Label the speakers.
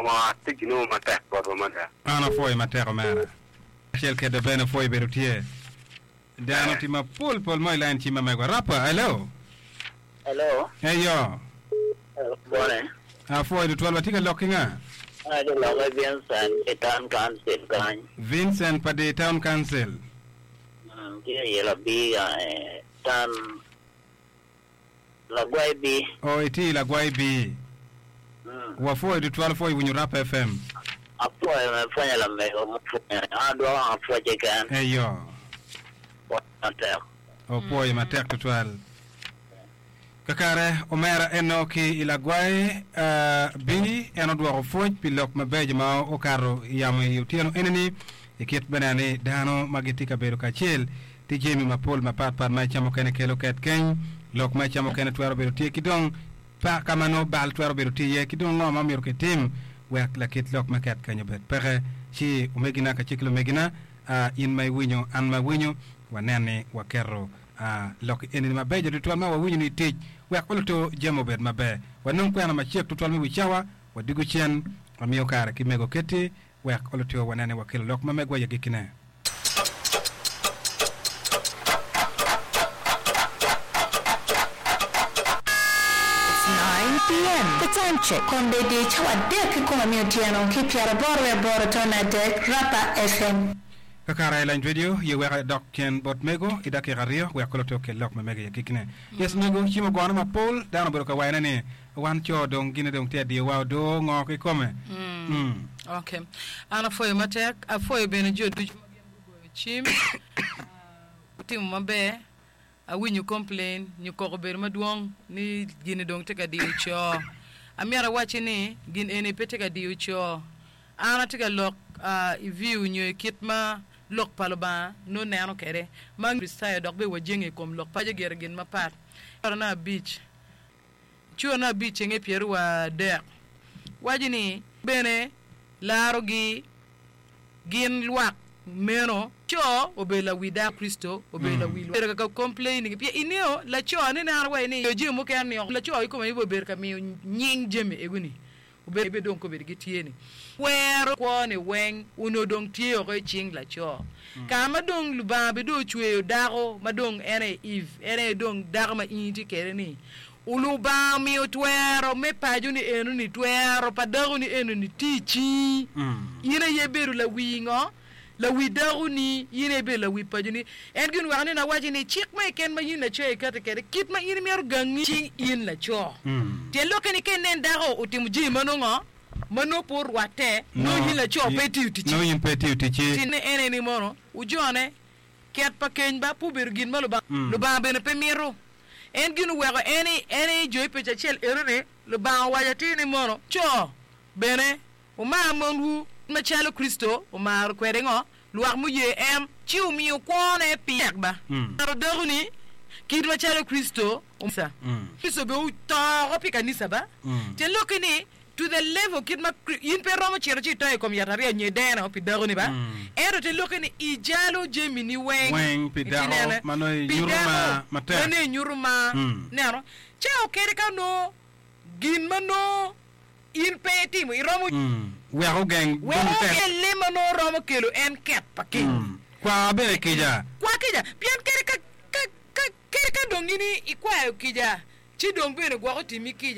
Speaker 1: Nongo atye ginongo matek botwa mada.
Speaker 2: An apwoyo matek omera. Acel kede bene pwoyo bedo tye. Dano tye mapol pol mo i line cim ma megwa. Rapper, hello.
Speaker 3: Hello.
Speaker 2: Eyo.
Speaker 3: Bone.
Speaker 2: Apwoyo tutwal. Watye ka lok ki nga?
Speaker 3: Atye ka lok ki Vincent i town council kany.
Speaker 2: Vincent pa di town council.
Speaker 3: Tye i labi town Lagwai bi.
Speaker 2: Oh itye i Lagwai bi. Wapwoyo tutwal pwoyo winyo Rap FM.
Speaker 3: Apwoyo me pwonyo lamego mupwonyo ni an adwoko wang apwoc keken.
Speaker 2: Eyo.
Speaker 3: Pwoc matek.
Speaker 2: Opwoyo matek tutwal. Kakare omera eno ki i Lagwai bi en odwoko pwoc pi lok mabeco ma okato i yamo i otyeno enini i kit me neno ni dano ma gitye ka bedo kacel Tye jami mapol mapat pat ma i ca mukene kelo ket keny, lok ma i ca mukene twero bedo tye ki dong pa ka ma nongo bal twero bedo tye iye ki dong ngo ma myero kitim wek lakit lok me ket keny obed peke. Ci omegina kacel ki lumegina, in ma iwinyo, an ma awinyo, wanen ni waketo lok eni-ni mabeco tutwal ma wawinyo-ni i tic wek oluto jami obed maber. Wanong kwena macek tutwal me wi cawa, wadwogo cen, wamiyo kare ki mego keti Wek olutio wanen ni wakelo lok ma megwa i agikkine.
Speaker 4: It's 9 PM. The time check. Kombeddi cawa adek kikome me otyeno ki pyeraboro wiye aboro tone adek, Rapa FM.
Speaker 2: Kakare lany radio ye wek adok cen bot mego i dakika aryo wek oluti okel lok ma mege i agikkine. Yes mego, cim ogone mapol, dano obedo ka wayone ni Wan co dong gine dong tye adiyowa odoo ngo kikome? Mm.
Speaker 5: Ok. An apwoyo matek. Apwoyo bene jo ducu ma gin gugoyo cim. Wutimo maber. Awinyo complain nyo koko obedo madwong ni gini dong tye ka diyo co. Amyero awacci ni gin eni pe tye ka diyo co. An atye ka lok i view nyo i kit ma lok pa Lubanga nongo neno kwede. Ma Kricitayo dok bene wajenge i kom lok pa gire gin mapat. Abic. Curane abicce nge pyerwadek waco ni, Bene larogi gin lwak meno. Co obedo lawi dako, Kricito obedo lawi lwak. Bedo ka complaining pien ingeyo laco ni neno waci ni jami mukene ni laco kikome aye obedo ka miyo nying jami ego ni. Obedo dong kobedo gitye ni kwero kwo ni weng onongo dong tye oko i cing laco. Ka ma dong Lubanga bene dong ocweyo dako ma dong en aye Eve, en aye dong dako ma in itye kwede ni, Lubanga omiyo twero me paco ni eno ni, twero pa dako ni eno ni tye i cingi. In aye ibedo lawi ngo? Lawi dakoni, in aye ibedo lawi paconi. En gin oweko nino awaci ni, cik mo keken ma in laco ikati kwede, kit ma in imito gangi cing in laco. Tyen lokke ni ka inen dako otimo jami ma nongo ngo? Ma nongo pe orwatte, nongo in laco pe itiyo ticci.
Speaker 2: Nongo in pe itiyo ticci.
Speaker 5: Ci en aye ni mono ojone, ket pa keny ba pe obedo gin ma Lubanga, Lubanga bene pe mito. En gin oweko en en i jo i pec acel eno-ni, Lubanga owaco atir ni mono, co bene Wumar monwu macalo Kricito omaro kwede ngo? Lwak muye en, ci omiyo kwone pi tek ba. Maro dakoni kit macalo Kricito omaro. Kricito bene oto oko pi kanisa ba. Tyen lokke ni, to the level kit ma in pe iromo cito ci ito i kom yatariya nyo ideno pi dakoni ba. Ento tyen lokke ni ijalo jamini weng
Speaker 2: Weng pi
Speaker 5: Itye
Speaker 2: dako
Speaker 5: nene?
Speaker 2: ma nongo
Speaker 5: Pi
Speaker 2: inyuto
Speaker 5: dako
Speaker 2: mar matek.
Speaker 5: ma nongo inyuto mar. Neno? Ca okene ka onongo gin ma nongo In pe itimo, iromo.
Speaker 2: Wek ogeng
Speaker 5: Wek
Speaker 2: dong tek.
Speaker 5: ogeng lim ma nongo romo kelo en ket pa keny.
Speaker 2: Kwa bene kica.
Speaker 5: Kwa kica, pien kadi ka, ka, ka, kadi ka dong in ikwayo kica, ci dong bene gwok otimmi kica.